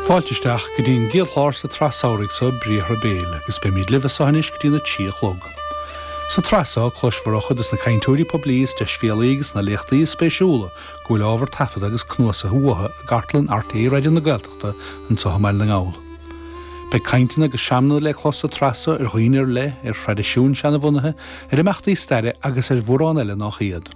Fáilte isteach go dtí an gcéad chlár sa tsraith samhraidh seo, Briathra Béil, agus beimid libh as seo anois go dtí na 3 a chlog. Sa tsraith seo, cloisfear ó chuid de na cainteoirí poiblí is deisbhéalaí agus na léachtaí is spéisiúla go bhfuil ábhar taifeadta agus cnuasaithe uathu i gcartlann RTÉ Raidió na Gaeltachta anseo i mBaile na nGall. Beidh cainteanna agus seamanna le clos sa tsraith seo ar dhaoine ar leith, ar thraidisiúin seanabhunaithe, ar imeachtaí staire agus ar mhórán eile nách iad.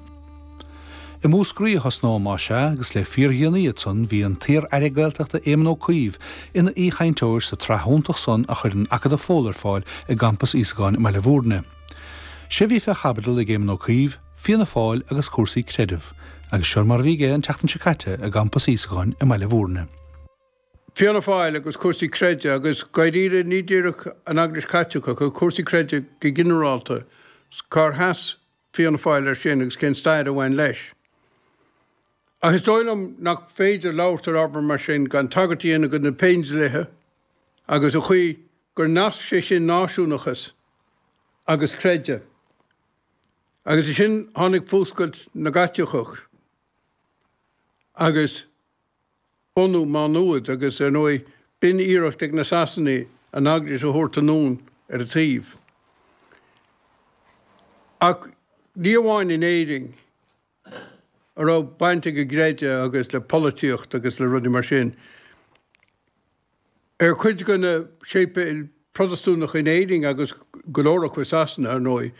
I Múscraí a thosnóidh más ea, agus le fíordhéanaí ansan bhí an t-iar-aire Gaeltachta Éamon Ó Cuív ina aoichainteoir sa tsraith iontach san a chuireann Acadamh Fódhla ar fáil i gCampas Íosagáin i mBaile Bhúirne. Sé bhí fé chaibidil ag Éamon Ó Cuív, Fianna Fáil agus cúrsaí creidimh, agus seo mar a bhí aige an tseachtain seo caite i gCampas Íosagáin i mBaile Bhúirne. Fianna Fáil agus cúrsaí creidimh agus dáiríre ní díreach an Eaglais Chaitliceach ach cúrsaí creidimh go ginearálta, cár sheas Fianna Fáil air sin agus cén stair a bhain leis. Ach is dóigh liom nach féidir labhairt ar ábhar mar sin gan tagairt a dhéanamh do na Péindlíthe agus an chaoi gur nasc sé sin náisiúnachas agus creideamh. Agus ansin tháinig fuascailt na gCaitliceach agus. bunú Má Nuad agus, ar ndóigh, b'in iarracht ag na Sasanaigh an Eaglais a thabhairt anonn ar a taobh. Ach ní amháin in Éirinn a raibh baint ag an gcreideamh agus le polaitíocht agus le rudaí mar sin. Ar chuid de na séipéil Protastúnacha in Éirinn agus go leor acu i Sasana, ar ndóigh,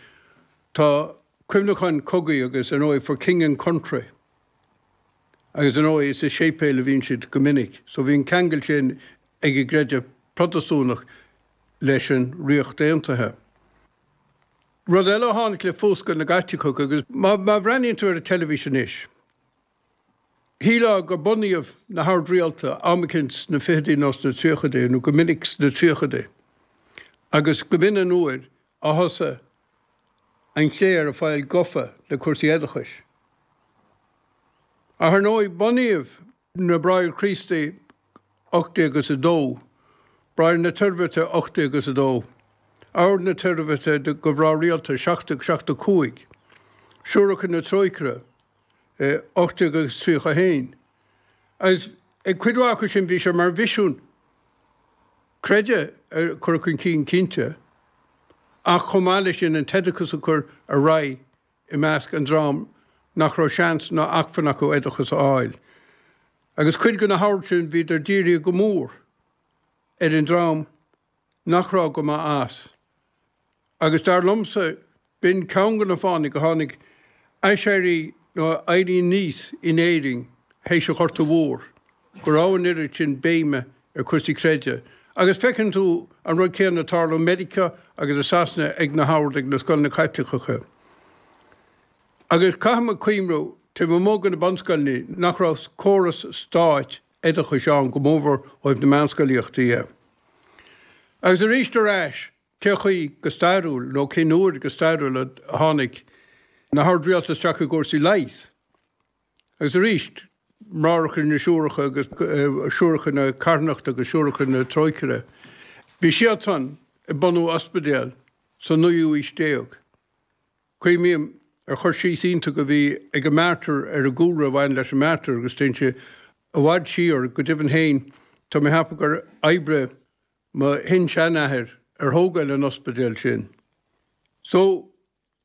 tá cuimhneacháin cogaidh agus, ar ndóigh, for King and Country. Agus ar ndóigh is i séipéil a bhíonn siad go minic, so bhí an ceangal sin ag an gcreideamh Protastúnach leis an Ríocht Aontaithe. Rud eile a tháinig le fuascailt na gCaitliceach agus má bhreathnaíonn tú ar an teilifís anois, shílfeá gur bunaíodh na hoird rialta am eicínt sna fichidí nó sna tríochaidí, nó go minic sna tríochaidí, agus go b'in an uair a thosaigh an chléir ag fáil gofa le cúrsaí oideachais. Ach ar ndóigh, bunaíodh na Bráithre Críostaí 18 is 2, Bráithre na Toirbhirte 18 is 2, Ord na Toirbhirte do Mhná Rialta 1775, Siúracha na Trócaire 18 agus 31. Agus ag cuid mhaith acu sin bhí sé mar mhisiún creideamh a chur chun cinn cinnte, ach chomh maith leis sin an t-oideachas a chur ar aghaidh i measc an dream nach raibh seans ná acmhainn acu oideachas a fháil. Agus cuid de na hoird sin bhíodar dírithe go mór ar an dream nach raibh go maith as. Agus dar liomsa, b'in ceann de na fáthanna go tháinig aiséirí nó éirí aníos in Éirinn théis an Ghorta Mhór, go raibh an oiread sin béime ar chúrsaí creidimh. Agus feiceann tú an rud céanna ag tarlú i Meiriceá agus i Sasana ag na hoird, ag na scoileanna Caitliceacha. Agus caithfidh muid cuimhniú, taobh amuigh de na bunscoileanna, nach raibh córas stáit oideachais ann, go mórmhór ó thaobh na meánscolaíochta dhe. Agus arís ar ais, cé chaoi go stairiúil, nó cén uair go stairiúil a tháinig na hoird rialta isteach i gcúrsaí leighis? Agus arís, Máithreacha na Siúracha agus Siúracha na Carthanachta agus Siúracha na Trócaire, bhí siadsan ag bunú ospidéal sa naoú aois déag. Cuimhním ar chur síos iontach a bhí ag an Mater ar an gcúlra a bhain leis an Mater agus téann sé i bhfad siar, go deimhin féin tá mé ag ceapadh gur oibrigh mo shin-seanathair ar thógáil an ospidéil sin. So.